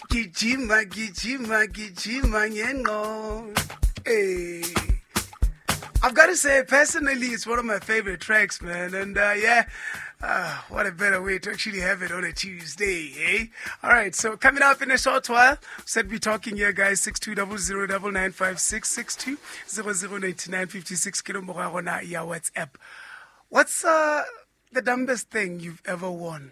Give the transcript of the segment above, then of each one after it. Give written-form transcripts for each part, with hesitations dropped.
Gijima, gijima, gijima ngengqondo. Hey. I've got to say, personally, it's one of my favorite tracks, man. And yeah, what a better way to actually have it on a Tuesday, eh? All right, so coming up in a short while, said we're talking here, guys, 6200 9956 6200 9956 ke nomoro ya rona ya WhatsApp. What's the dumbest thing you've ever won?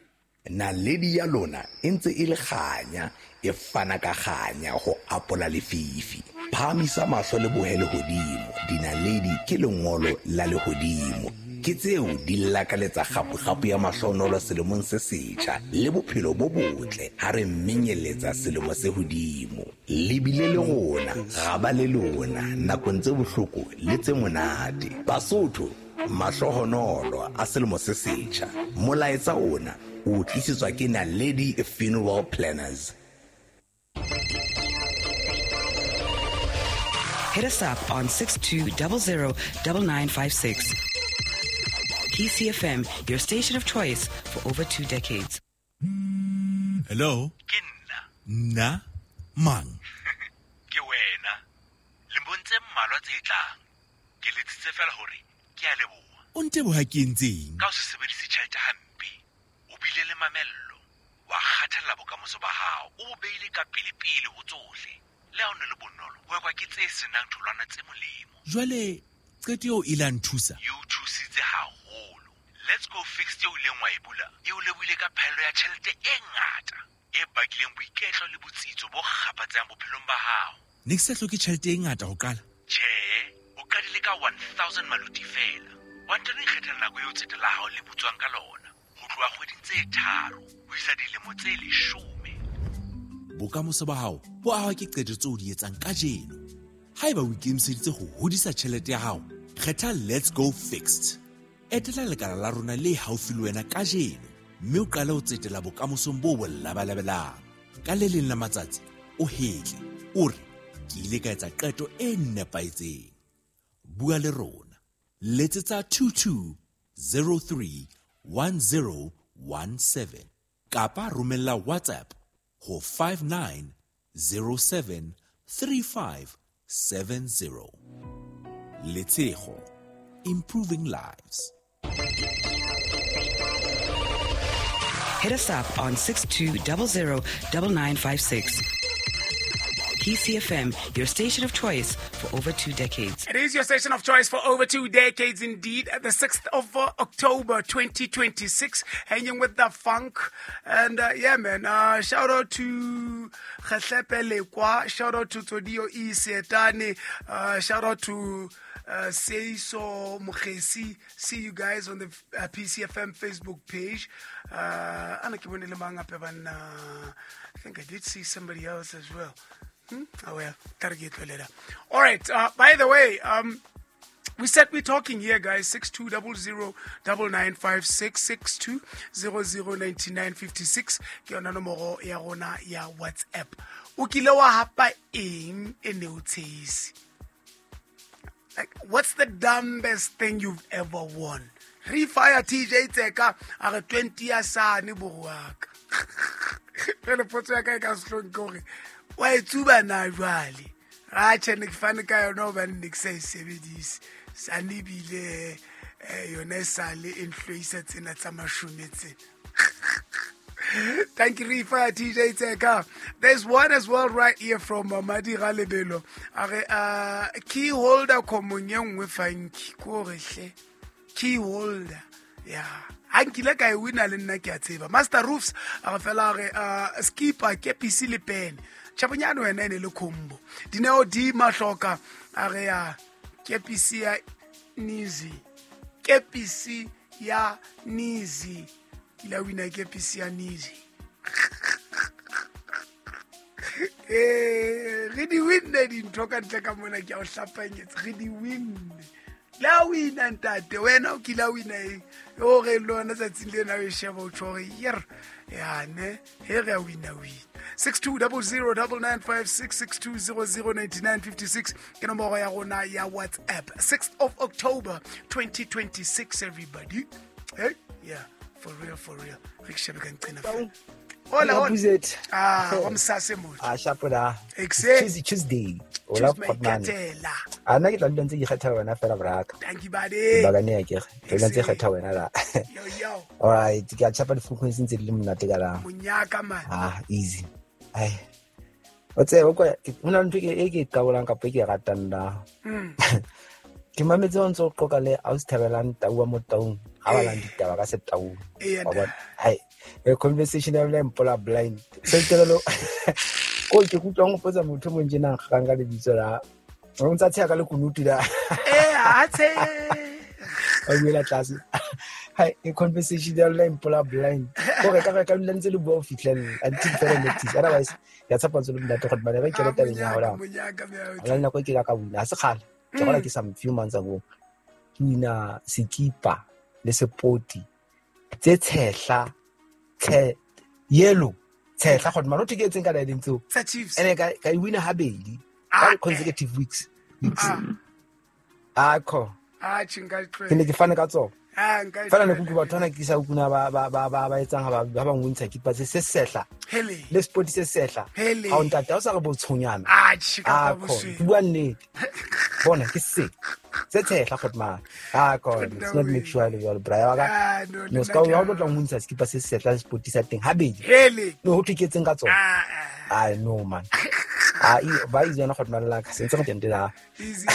Naledi ya lona e ntse e le kganya, e fana ka kganya ho apola lefifi. Phahamisa mahlo le bohe lehodimo, dinaledi ke lengolo la lehodimo. Ke tseo di lakaletsa kgapo-kgapo ya mahlonolo selemong se setjha le bophelo bo botle ha re menyeletsa selemo se hodimo. Le bile le rona, ra ba le lona nakong tse bohloko le tse monate. Basotho, mahlohonolo a selemo se setjha. Molaetsa ona o tlisetswa ke Naledi Funeral Planners. Hit us up on 6200 9956. PCFM, your station of choice for over 2 decades. Hello? Ke nna. Nna mang? Ke wena. Lemong tse mmalwa tse tlang, ke letsitse fela hore ke a leboha. O nteboha ke entseng? Ka ho se sebedise tjhelete hampe, o bile le mamello, wa kgathalla bokamoso ba hao, o bo beile ka pele-pele ho tsohle. Le ha o ne le bonolo ho ekwa ke tse senang tholwana tse molemo. Jwale qeto eo ile a nthusa? E o thusitse haholo. Let's Go Fixed eo ileng wa e bula e o lebohile ka phaello ya tjhelete e ngata e bakileng boiketlo le botsitso bo kgaphatsehang bophelong ba hao. Ne ke sa hloke tjhelete e ngata ho qala. Tjhe, o qadile ka 1000 maluti fela, wa ntano ikgethela nako eo tsete la hao le butswang ka lona, ho tloha kgweding tse 3 ho isa dilemo tse 10. Bokamoso ba hao bo ahwa ke qeto tseo o di etsang kajeno. Haeba o ikemiseditse ho hodisa tjhelete ya hao, kgetha Let's Go Fixed. Etela lekala la rona le haufi le wena kajeno mme o qale ho tsetela bokamosong bo bo labalabelang. Ka le leng la matsatsi o hetle o re, ke ile ka etsa qeto e nepahetseng. Bua le rona, letsetsa 22 03 1017 kapa romella WhatsApp ho 59 07 35 70. Letshego, improving lives. Hit us up on 6200 9956. PCFM, your station of choice for over 2 decades. It is your station of choice for over 2 decades indeed. The 6th of October 2026, hanging with the funk. And yeah, man, shout out to Khahlepe Lekwa, shout out to Todio E. Sietane, shout out to Seiso Mukhesi. See you guys on the PCFM Facebook page. Ana ke bone le mang hape banna? I think I did see somebody else as well. Oh well, tla re ke e tlohele. All right. By the way, we said we're talking here, guys. 6200 9956 6200 9956. Ke yona nomoro ya rona ya WhatsApp. O kile wa hapa eng e ne o tshehise? Like, what's the dumbest thing you've ever won? Refire TJ Tseka a re 20 ya sane boruaka. Jwale potso ya ka e ka sehlong ke hore wa e tsuba na jwale? Atjhe, ne ke fane ka yona hobane ne ke sa e sebedise. Sane ebile yona e sale e nhloisa tsena tsa mashome tsena. Thank you, Rifa TJ Tseka. There's one as well right here from Madi Ralebelo. A re key holder khomong e nngwe funky ko re hle. Key holder. Yeah. Ha nkile ka e wina le nna ke a tseba. Master Roofs a re fela a re skipper ke PC le pen. Tjhabonyane wena e ne le combo. Dineo di mahloka a re ya kepisi ya Nizi. Kepisi ya Nizi. Ke la wina kepisi ya Nizi. Re di winne dintho ka ntle ka mona, ke a o hlapanyetsa, re di winne. Le ha wina ntate, wena o kile a wina eng o re le yona tsatsing lena o e sheba o tjho hore yer yane he re a wina wina. 6200 9956 6200 9956 ke nomoro ya rona ya WhatsApp. 6th of October 2026, everybody. Hey, yeah, for real, for real, re ke shebe ka nqena fela. Hola, hola. Opposite. Ah, wa msase motho. Ah, sharp la. Exe. Tuesday, Tuesday. Ola Choose my Khotmane. ketela. A nna ke tla dula ntse ke kgetha wena fela braka. Thank you, buddy. Bakane ya ke. Ke dula ntse ke kgetha wena la. Yo, yo. All right, ke a tjhapa di-frequency ntse di le monate ka la. Monyaka, man. Ah, easy. Ai. O tsebe kwa ho na le ntho e ke e qabolang kapa e ke e ratang la. Ke mametse o ntse o qoqa le ausi Thabelang Tau wa mo Taung, ha balang ditaba ka Setaung. Eya, Wa bona? Hai, e conversation ya lona e mpola blind. Seterelo ko ke kutlwa go potsa motho o mong tjena a nkgang ka lebitso la. O ntsa tsheha ka lekunutu la. Eh, athe. A buela tlase. Hai, e conversation ya lona e mpola blind. Ko re ka re ka dula ntse le bua ho fihlella until further notice. Otherwise, ya tshepa ntse le monate gore bana ba kene tabeng ya hao la. Monyaka, monyaka. Hona le nako e ke la ka wina, ha se kgale. Ke gola ke some few months ago. Ke wina sekipa le sepoti tse tshehla, tshe yellow, tshehla gore mara o thwe ke etseng ka dialeng tseo. Tsa Chiefs. Ene ka e wina habedi Ah, ka consecutive weeks. Ah. Ah, ko. Ah, tjhe, nka e Ke ne tlohela. ke fane ka tsona. Ah, nka e Fela ne tlohela. ke utlwa batho bana ke sa utlwa ba etsang ha ba nwintsha kipa se se sehla. Hele. Le sport se sehla. Hele. Ha o ntate, ha o sa re botshonyana. Ah, tjhe, ka Ah, pa ko. bosweu. Ke bua nnete. Bona ke se. Se tshehla gore man. Ah, ko. It's not make sure le jwalo, bra. Wa ka. Ah, no, No, ska o ha o tlo tla nwintsha sekipa se sehla le sport sa teng habedi. Hele. No, ho thwe ke etseng ka tsona. Ah, ah. Ah, no man. Ah, ba itse yona gore man la ka. Se ntse go teng la. Easy.